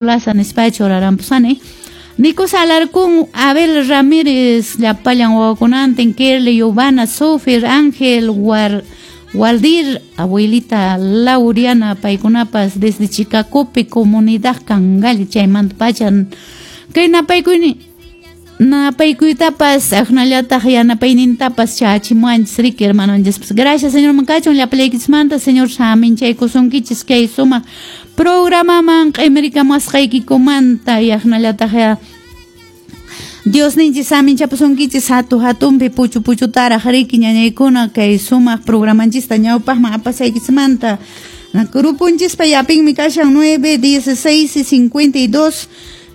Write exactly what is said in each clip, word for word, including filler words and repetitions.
Plaza nispachu orarampusani. Nicos Alarcón, Abel Ramírez, llapallan wawakunantin, Kerly, Giovanna, Sofir, Ángel, War, Waldir, abuelita Lauriana, paykunapas desde Chicacope, comunidad Cangal, chaymanta pachan. Kay napaykuyni, napaykuytapas, aqnallataq yanapaynintapas chachimuanchis riki hermanonchis. Gracias, Señor mankachun, llapallaykichismanta, Señor saminchaykusunkichis kay sumaq programaman q'imirikamusqaykikumanta, yaqnallataq Dios ninchis saminchapusunkichis hatu hatumpi puchu puchutaraq riki ñañaykuna kay sumaq programanchista ñawpaqman apasaykichismanta. Grupunchispa yapinmi kashan nueve, dieciséis y cincuenta y dos,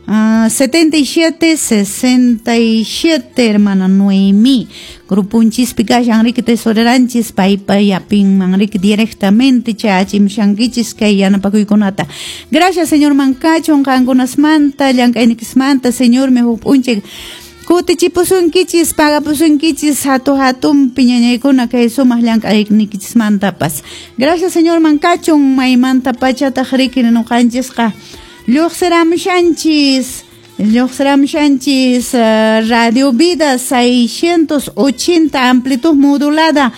uh, setenta y siete, sesenta y siete, hermana Noemí. Grupunchispi kashan riki tesoreranchis paypa yapinman riki directamente chachimshankichis kay yanapakuykunata. Gracias, Señor mankachun qankunasmanta, llank'aynikismanta, Señor mi huk p'unchay kutichipusunkichis, pagapusunkichis hatu hatumpi ñañaykuna kay sumaq llank'aynikichismantapas. Gracias, Señor mankachun maymanta pachataq riki nuqanchisqa lluqsiramushanchis, lluqsiramushanchis uh, Radio Vida seiscientos ochenta amplitud modulada,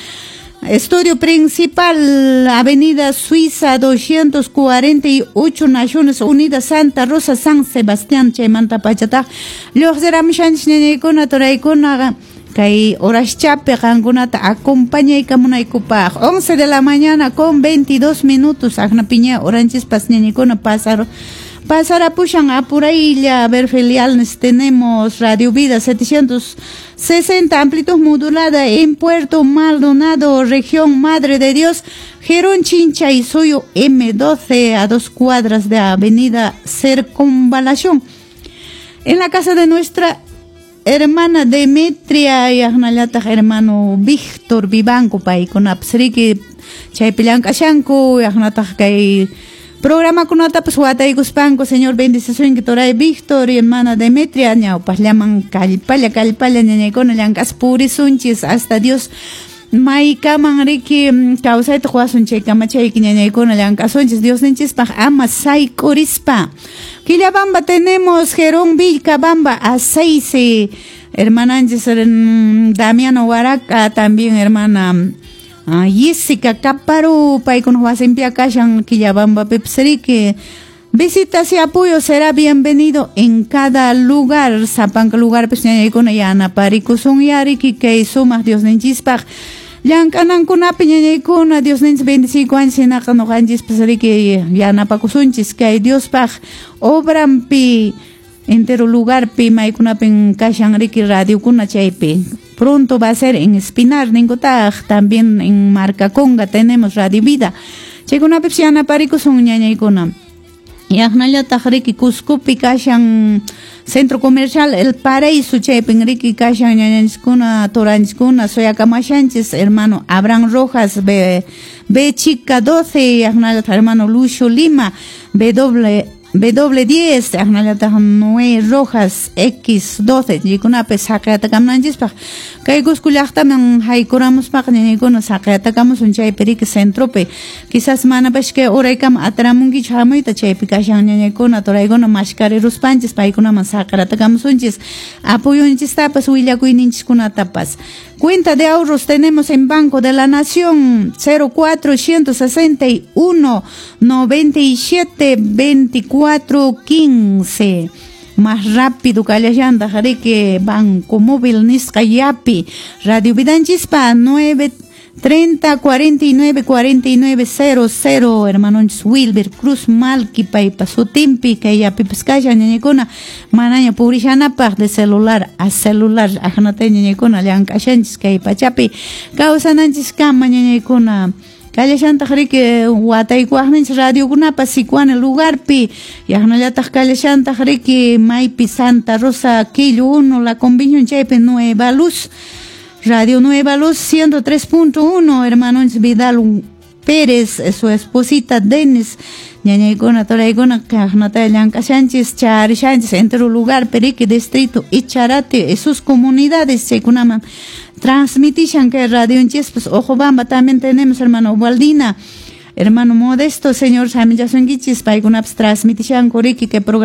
estudio principal, Avenida Suiza doscientos cuarenta y ocho, Naciones Unidas, Santa Rosa, San Sebastián, chaymanta pachataq lluqsiramushanchis ñañaykuna turaykuna kay horaschapi qankunata acompañaykamunaykupaq. once de la mañana con veintidós minutos, aqnapiña oranchispas ñañaykuna pasar pasarapushan apuraylla. A ver, filiales tenemos Radio Vida setecientos sesenta amplitud modulada en Puerto Maldonado, región Madre de Dios, Gerón Chincha y Suyo M doce, a dos cuadras de Avenida Circunvalación. En la casa de nuestra hermana Demetria y aqnallataq hermano Víctor Vivanco paykunapas riki chaypi llank'ashanku, aqnataq kay programakunatapas wataykuspanku. Señor bendicisunki turay Víctor y hermana Demetria, ñawpaqllaman kallpalla kallpalla ñañaykuna llank'aspa purisunchis hasta Dios maykaman riki kawsayta quwasun chaykama chayki ñañaykuna llank'asunchis Dios ninchispaq ama sayk'urispa. Quillabamba tenemos Jerón Vilcabamba a seis, hermananchis Damiano Huaraca, también hermana uh, Jessica Caparu, paykuna wasinpi kashan Quillabamba pipsriki. Visitas y apoyo será bienvenido en cada lugar, sapanka lugar pues ñañaykuna yanaparikusun yariki kay sumaq Dios ninchispaq llank'anankunapi ñañaykuna Dios ninchis bendiciykuwanchis hinaqa nuqanchispas riki yanapakusunchis kay Diospaq obrampi entero lugarpi maykunapin kashan riki radiokuna chaypi. Pronto va a ser en Espinar ninkutaq, también en Marcaconga tenemos Radio Vida. Chaykunapipis yanaparikusun ñañaykuna. Yaqnallataq riki Cuscopi kashan Centro Comercial El Paraíso chaypin riki kashan ñañanchiskuna turanchiskuna suyakamashanchis hermano Abraham Rojas B, B chica doce, yaqnallataq hermano Lucio Lima B doble B diez, aqnallataq Noé Rojas X doce, chaykunapis saqiyatakamnanchispaq kay Cusco llaqtaman haykuramuspaq ñañaykuna saqiyatakamusun chaypi riki centropi, quizás manapash kay uraykama ataramunkichu hamuyta chaypi kashan ñañaykuna turaykuna mashkariruspanchis paykunaman saqiyatakamusunchis apoyunchistapas willakuyninchiskunatapas. Cuenta de ahorros tenemos en Banco de la Nación cero cuatro ciento sesenta y uno noventa y siete veinticuatro quince. Más rápido kallashanta riki Banco Móvil nisqa yapi. Radio Vidanchispa nueve treinta cuarenta y nueve cuarenta y nueve cero cero, hermanonchis Wilber Cruz Malqui paypa sutinpi kay yapipas kashan ñañaykuna manaña purishanapaq de celular a celular aqnata ñañaykuna llank'ashanchis kay pachapi kawsananchiskama ñañaykuna. Kallashantaq riki wataykuwaqninchis radiokunapas Sicuani lugarpi, yaqnallataq kallashantaq riki maypi Santa Rosa Quillo uno La Convención chaypi Nueva Luz, Radio Nueva Luz ciento tres punto uno, hermanonchis Vidal Pérez, su esposita Denis, ñañaykuna turaykuna kaqnata llank'ashanchis charishanchis entero lugar Perique distrito Icharate y sus comunidades chaykunaman transmitishan kay radionchispas. Ojobamba también tenemos hermano Waldina Hermano Modesto, señor samillasunkichis, paykunapas transmitishanku riki que programa.